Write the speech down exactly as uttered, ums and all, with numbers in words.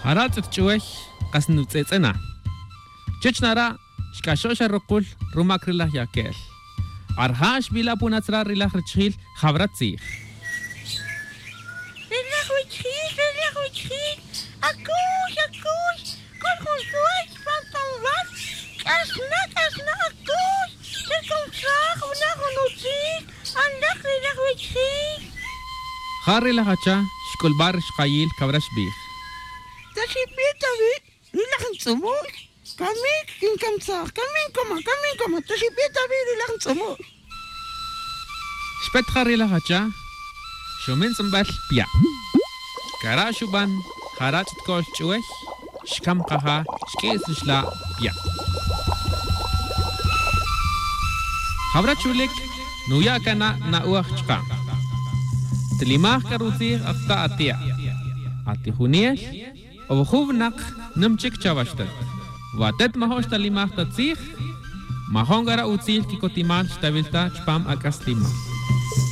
Jara' tz'ut ch'uwey kas nutz'etz'e' na. Chech nara' xk'axo' xa rukul rumak ri laj yakel. Arja' xbila' punatz ra ri laj rachijil jawra tzij. Ri laj wichijil, ri laj wichijil, akuy, akuy, k'ol jun suway chupan tanwal. K'axna, k'axna, akuy, che komsaj wuna jun utzil, anlaj ri laj wichijil. Ja ri laj acha xk'ulba' ri xkayil kawra xbij. Ta xipe ta wi' ri laj ntz'umul, kami kinkamsaj, kami nkoma, kami nkoma, ta xipe ta wi' ri laj ntz'umul. Xpet ja ri laj acha, xumin tz'umbel pya'. Kara' xuban, jara' tz'ut ko'l ch'uwey, xkam kaja, xk'is ri xla' pya'. Jawra chulik, nuya' kana' na'uaj chka'. Tilimaj k'a rutzij ata ati'a'. Atijunel, o jun winak nim chik chawaxtet. Wa atet majo'n xtalimaj ta tzij, majo'n k'a ra utzil kikotimal xtawil ta chupam ak'aslimal.